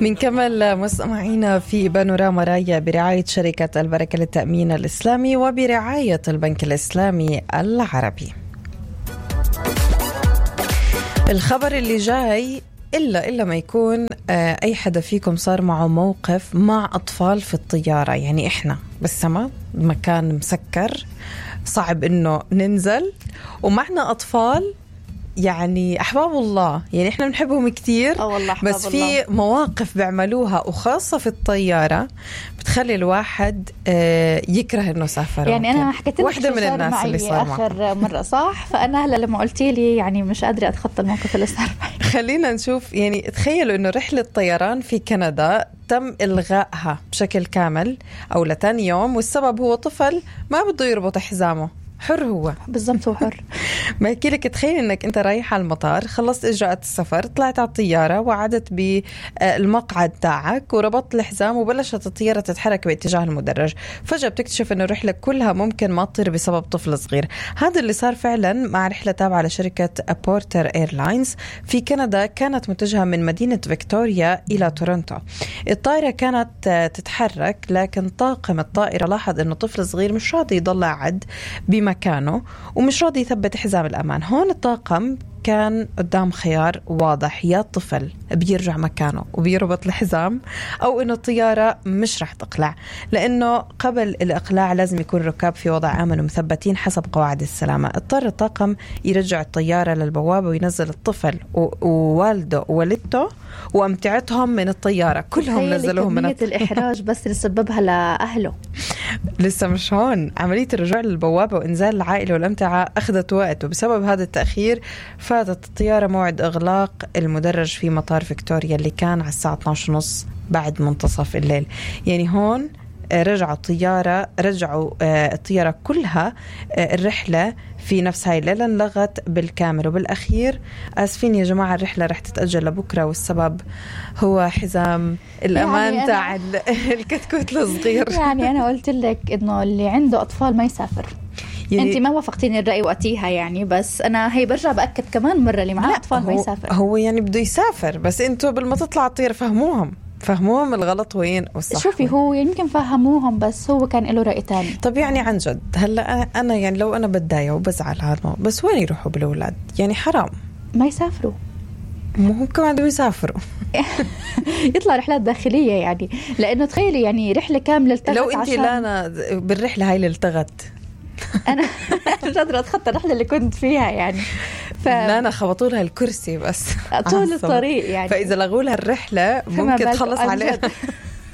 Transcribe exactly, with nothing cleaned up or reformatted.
منكمل مستمعينا في بانوراما رايا برعاية شركة البركة للتأمين الإسلامي وبرعاية البنك الإسلامي العربي. الخبر اللي جاي إلا إلا ما يكون أي حدا فيكم صار معه موقف مع أطفال في الطيارة، يعني إحنا بالسما مكان مسكر صعب إنه ننزل ومعنا أطفال يعني أحباب الله، يعني إحنا بنحبهم كتير بس في مواقف بيعملوها وخاصة في الطيارة بتخلي الواحد يكره إنه سافر. يعني أنا حكيت لك واحدة من الناس اللي صار آخر مرة صح، فأنا هلا لما قلتي لي يعني مش قادرة أتخطى الموقف اللي صار معي. خلينا نشوف، يعني تخيلوا إنه رحلة طيران في كندا تم إلغائها بشكل كامل أو لتاني يوم، والسبب هو طفل ما بده يربط حزامه. حر هو بالضبط، هو حر. ما يحكي لك تخيل انك انت رايح على المطار، خلصت اجراءات السفر، طلعت على الطياره وعدت بالمقعد تاعك وربطت الحزام وبلشت الطياره تتحرك باتجاه المدرج، فجاه بتكتشف انه الرحله كلها ممكن ما تطير بسبب طفل صغير. هذا اللي صار فعلا مع رحله تابعه لشركه بورتر ايرلاينز في كندا، كانت متجهه من مدينه فيكتوريا الى تورونتو. الطائره كانت تتحرك لكن طاقم الطائره لاحظ انه طفل صغير مش راضي يضل قاعد بمكانه ومش راضي يثبت حزام الأمان. هون الطاقم كان قدام خيار واضح، يا الطفل بيرجع مكانه وبيربط الحزام أو إنه الطيارة مش رح تقلع، لأنه قبل الإقلاع لازم يكون الركاب في وضع آمن ومثبتين حسب قواعد السلامة. اضطر الطاقم يرجع الطيارة للبوابة وينزل الطفل ووالده ووالدته وأمتعتهم من الطيارة، كلهم نزلوهم من الطيارة. الإحراج بس اللي سببها لأهله. لسه مش هون، عملية الرجوع للبوابة وإنزال العائلة والأمتعة أخذت وقت، وبسبب هذا التأخير فاتت الطيارة موعد إغلاق المدرج في مطار فيكتوريا اللي كان على الساعة اثناشر وثلاثين بعد منتصف الليل. يعني هون رجعوا الطيارة رجعوا الطيارة كلها الرحلة في نفس هاي الليلة انلغت بالكامل. وبالأخير آسفين يا جماعة الرحلة رح تتأجل لبكرة، والسبب هو حزام الأمان يعني تاع الكتكوت الصغير. يعني أنا قلت لك إنه اللي عنده أطفال ما يسافر. يعني أنت ما وافقتيني الرأي وقتيها يعني، بس أنا هي برجع بأكد كمان مرة اللي معاه أطفال ما يسافر. هو يعني بده يسافر، بس أنتوا بالما تطلع الطيارة فهموهم فهموهم الغلط وين والصح. شوفي هو يمكن فهموهم بس هو كان له رأي تاني. طب يعني عن جد هلا أنا يعني لو أنا بتضايق وبزعل هذا، بس وين يروحوا بالأولاد؟ يعني حرام ما يسافروا، هم كمان بدهم يسافروا. يطلع رحلات داخلية يعني، لأنه تخيلي يعني رحلة كاملة التغت. لو أنت لانا بالرحلة هاي اللي التغت أنا مش قادرة أتخطى الرحلة اللي كنت فيها يعني. ف... لا أنا خبطوا لها الكرسي بس طول الطريق يعني، فإذا لغوا لها الرحلة ممكن تخلص عليها.